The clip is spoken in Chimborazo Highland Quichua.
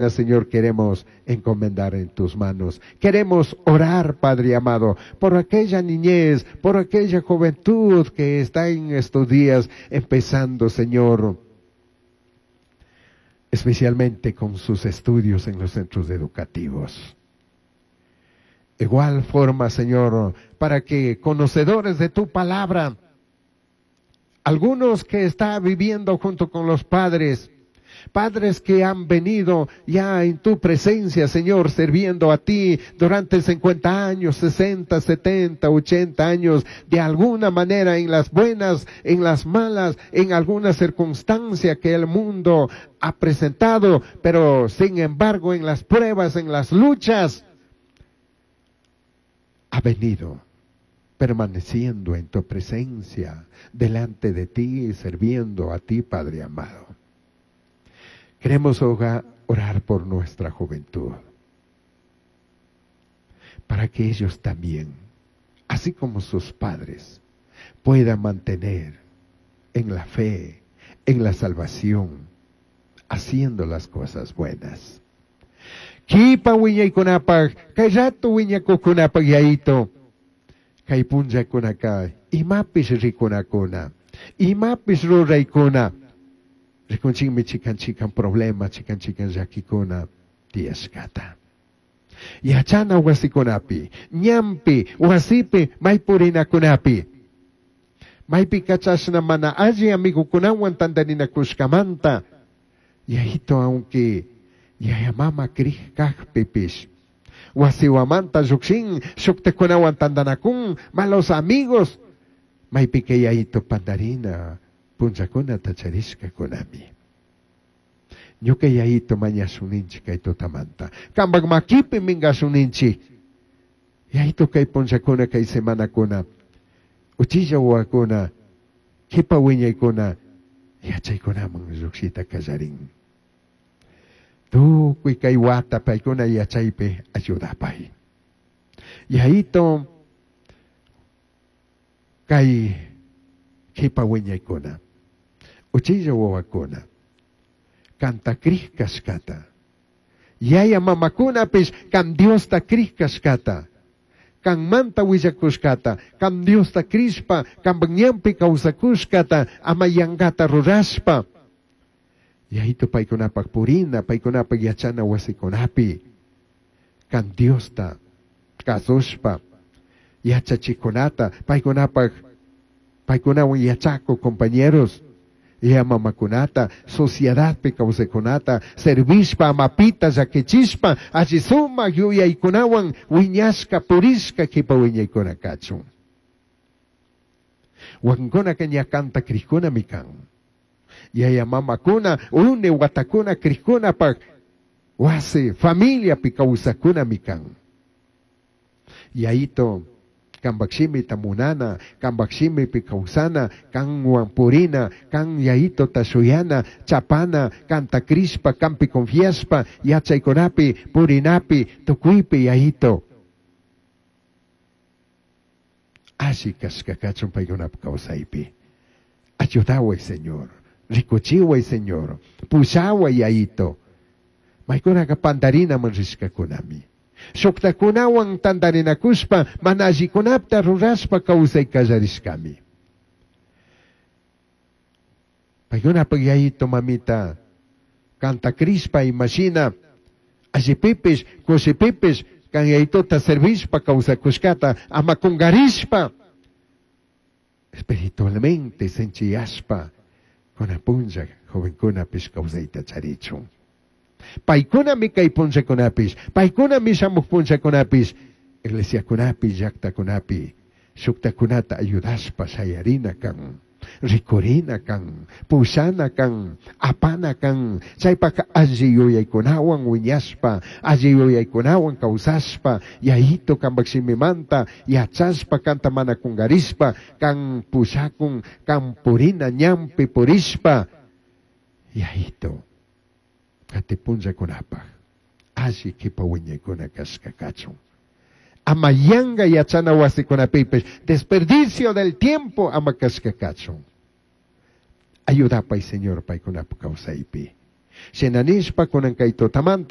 Señor, queremos encomendar en tus manos. Queremos orar, Padre amado, por aquella niñez, por aquella juventud que está en estos días empezando, Señor, especialmente con sus estudios en los centros educativos. Igual forma, Señor, para que conocedores de tu palabra, algunos que están viviendo junto con los padres, padres que han venido ya en tu presencia, Señor, sirviendo a ti durante 50 años, 60, 70, 80 años, de alguna manera en las buenas, en las malas, en alguna circunstancia que el mundo ha presentado, pero sin embargo en las pruebas, en las luchas, ha venido permaneciendo en tu presencia, delante de ti, sirviendo a ti, Padre amado. Queremos orar por nuestra juventud, para que ellos también, así como sus padres, puedan mantener en la fe, en la salvación, haciendo las cosas buenas. Kipa wiñaykunapaq, kay rato wiñakuqkunapaq Yayito, kay punllakunaka, imapish rikunakuna, imapish ruraykuna, rikunchikmi chikan chikan problema, chikan chikan llakikuna tiyashkata. Yachana wasikunapi, ñanpi, wasipi, maypurinakunapi. Maypika chashna mana alli amigukunawan tantarinakushkamanta, Yayito, aunque yaya mama krij kajpipish, wasiwamanta llukshin, shuktakunawan tantanakun, malos amigos, maypika Yayito pandarina punllakunata charishkakunami. Ñuka Yayito mañashuninchik kay tutamanta. Kampak makipi minkashuninchik. Yayito kay punllakuna, kay semanakuna, uchilla wawakuna, kipa wiñaykuna, yachaykunaman llukshita kallarin. Tukuy kay wata paykuna yachaypi ayudapay. Yayito kay kipa wiñaykuna, uchilla wawakuna, kanta krij kashkata. Yaya mamakunapish kan Diosta krij kashkata. Kan manta willakushkata, kan Diosta krishpa, kan ñanpi kawsakushkata, ama yankata rurashpa. Yayito paykunapak purina, paykunapak yachana wasikunapi, kan Diosta kasushpa, yachachikunata, paykunapak, paykunawan yachaku compañeros, yaya mamakunata, sociedadpi kawsaykunata, servishpa, amapita llakichishpa, alli sumak yuyaykunawan wiñashka, purishka kipa wiñaykuna kachun. Wakinkunaka ña kanta krijkunami kan. Yaya mamakuna, une watakuna krijkunapak wasi, familiapi kawsakunami kan. Yayito, kampak shimita munana, kampak shimipi kawsana, kanwan purina, kan Yayito tashuyana, chapana, kanta krishpa, kampi confiashpa, yachaykunapi, purinapi, tukuypi Yayito. Alli kashka kachun paykunapa kawsaypi. Ayudaway, Señor. Rikuchiway, Señor. Pushaway, Yayito. Maykunaka pandarinaman rishkakunami. Shuktakunawan tantarinakushpa, mana allikunapta rurashpa kawsay kallarishkami. Paykunapak Yayito mamita, kanta krishpa imashina, allipipish, kushipipish, kan Yayitota servishpa kawsakushkata, ama kungarishpa, espiritualmente sinchiyashpa, kuna punlla jovenkunapish kawsayta charichun. Paykunami kay punllakunapish, paykunami shamuq punllakunapish, iglesiakunapi, llaktakunapi, shuktakunata ayudashpa shayarina kan, rikurina kan, pushana kan, apana kan, chaypaka alli yuyaykunawan wiñashpa, alli yuyaykunawan kawsashpa, Yayito kampak shimimanta, yachashpa kanta mana kungarishpa, kan pushakun, kan purina ñanpi purishpa, Yayito, kati punllakunapaj, alli kipa wiñaykuna kashka kachun. Ama yanga yachana wasikunapipish, desperdicio del tiempo ama kashka kachun. Ayudapay, Señor, paykunapa kawsaypi. Shina nishpa kunan kay tutamanta.